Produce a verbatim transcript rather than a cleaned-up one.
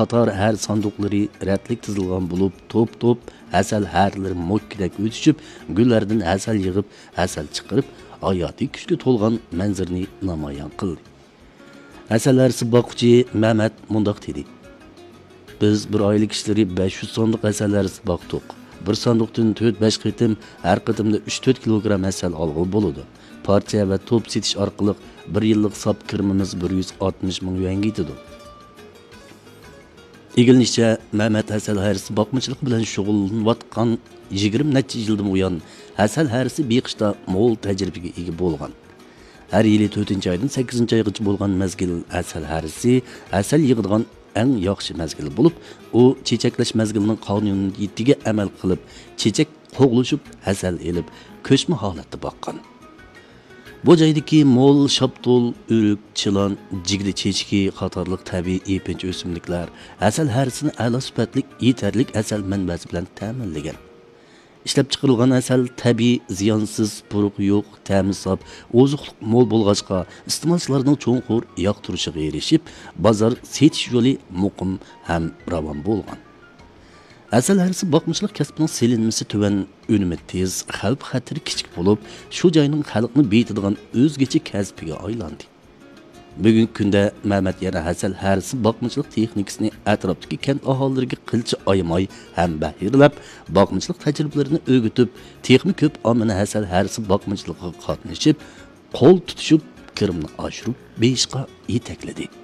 قاتار ھەر ساندۇقلىرى رەتلىك تىزىلغان بولۇپ، توپ-توپ ھەسەل ھەرلىرى موككىدەك ئۆتۈشۈپ، گۈللەردىن ھەسەل يىغىپ، ھەسەل چىقىرىپ، ھاياتىي كۈچكە تولغان مەنزىرىنى نامايان قىلدى. ھەسەل ھەرىسى باققۇچى مەمەت مۇنداق دېدى: بىز بىر ئائىلە كىشىلىرى بەش يۈز ساندۇق ھەسەل ھەرىسى باقتۇق. بىر ساندۇقتىن تۆت-بەش قېتىم، ھەر قېتىمدا ئۈچ-تۆت كىلوگرام ھەسەل ئالغىلى بولىدۇ. پارچە ۋە توپ سېتىش ئارقىلىق بىر يىللىق ساپ كىرىمىمىز بىر يۈز ئاتمىش مىڭ يۈەنگە يېتىدۇ. ئىگىلىنىشىچە، مەمەت ھەسەل ھەرىسى باقمىچىلىقى بىلەن شۇغۇللىنىۋاتقان يىگىرمە نەچچە يىلدىن بۇيان، ھەسەل ھەرىسى بېقىشتا مول تەجرىبىگە ئىگە بولغان. ھەر يىلى تۆتىنچى ئايدىن سەككىزىنچى ئايغىچە بولغان مەزگىل ھەسەل ھەرىسى ھەسەل يىغىدىغان ئەڭ ياخشى مەزگىل بولۇپ، ئۇ چېچەكلەش مەزگىلىنىڭ قانۇنىيىتىگە ئەمەل قىلىپ، چېچەك قوغلىشىپ، ھەسەل ئېلىپ، كۆچمە ھالەتتە باققان. بۇ جايدىكى مول شاپتۇل، ئۆرۈك، چىلان، جىگدە چېچىكى قاتارلىق تەبىئىي يېپىنچا ئۆسۈملۈكلەر ھەسەل ھەرىسىنى ئەلا سۈپەتلىك، يېتەرلىك ھەسەل مەنبەسى بىلەن تەمىنلىگەن. ئىشلەپچىقىرىلغان ھەسەل تەبىئىي، زىيانسىز، پۇرىقى يوق، تەمى ساپ، ئوزۇقلۇق مول بولغاچقا، ئىستېمالچىلارنىڭ چوڭقۇر ياقتۇرۇشىغا ئېرىشىپ، بازار سېتىش يولى مۇقىم ھەم راۋان بولغان. ھەسەل ھەرىسى باقمىچىلىق كەسپىنىڭ سېلىنمىسى تۆۋەن، ئۈنۈمى تېز، خەۋپ-خەتىرى كىچىك بولۇپ، شۇ جاينىڭ خەلقنى بېيىتىدىغان ئۆزگىچە كەسپىگە ئايلاندى. بۈگۈنكى كۈندە مەمەت يەنە ھەسەل ھەرىسى باقمىچىلىق تېخنىكىسىنى ئەتراپتىكى كەنت ئاھالىلىرىگە قىلچە ئايىماي ھەم بەھىرلەپ، باقمىچىلىق تەجرىبىلىرىنى ئۆگىتىپ، تېخىمۇ كۆپ ئاممىنى ھەسەل ھەرىسى باقمىچىلىقىغا قاتنىشىپ، قول تۇتۇشۇپ، كىرىمنى ئاشۇرۇپ بېرىشقا يېتەكلىدى.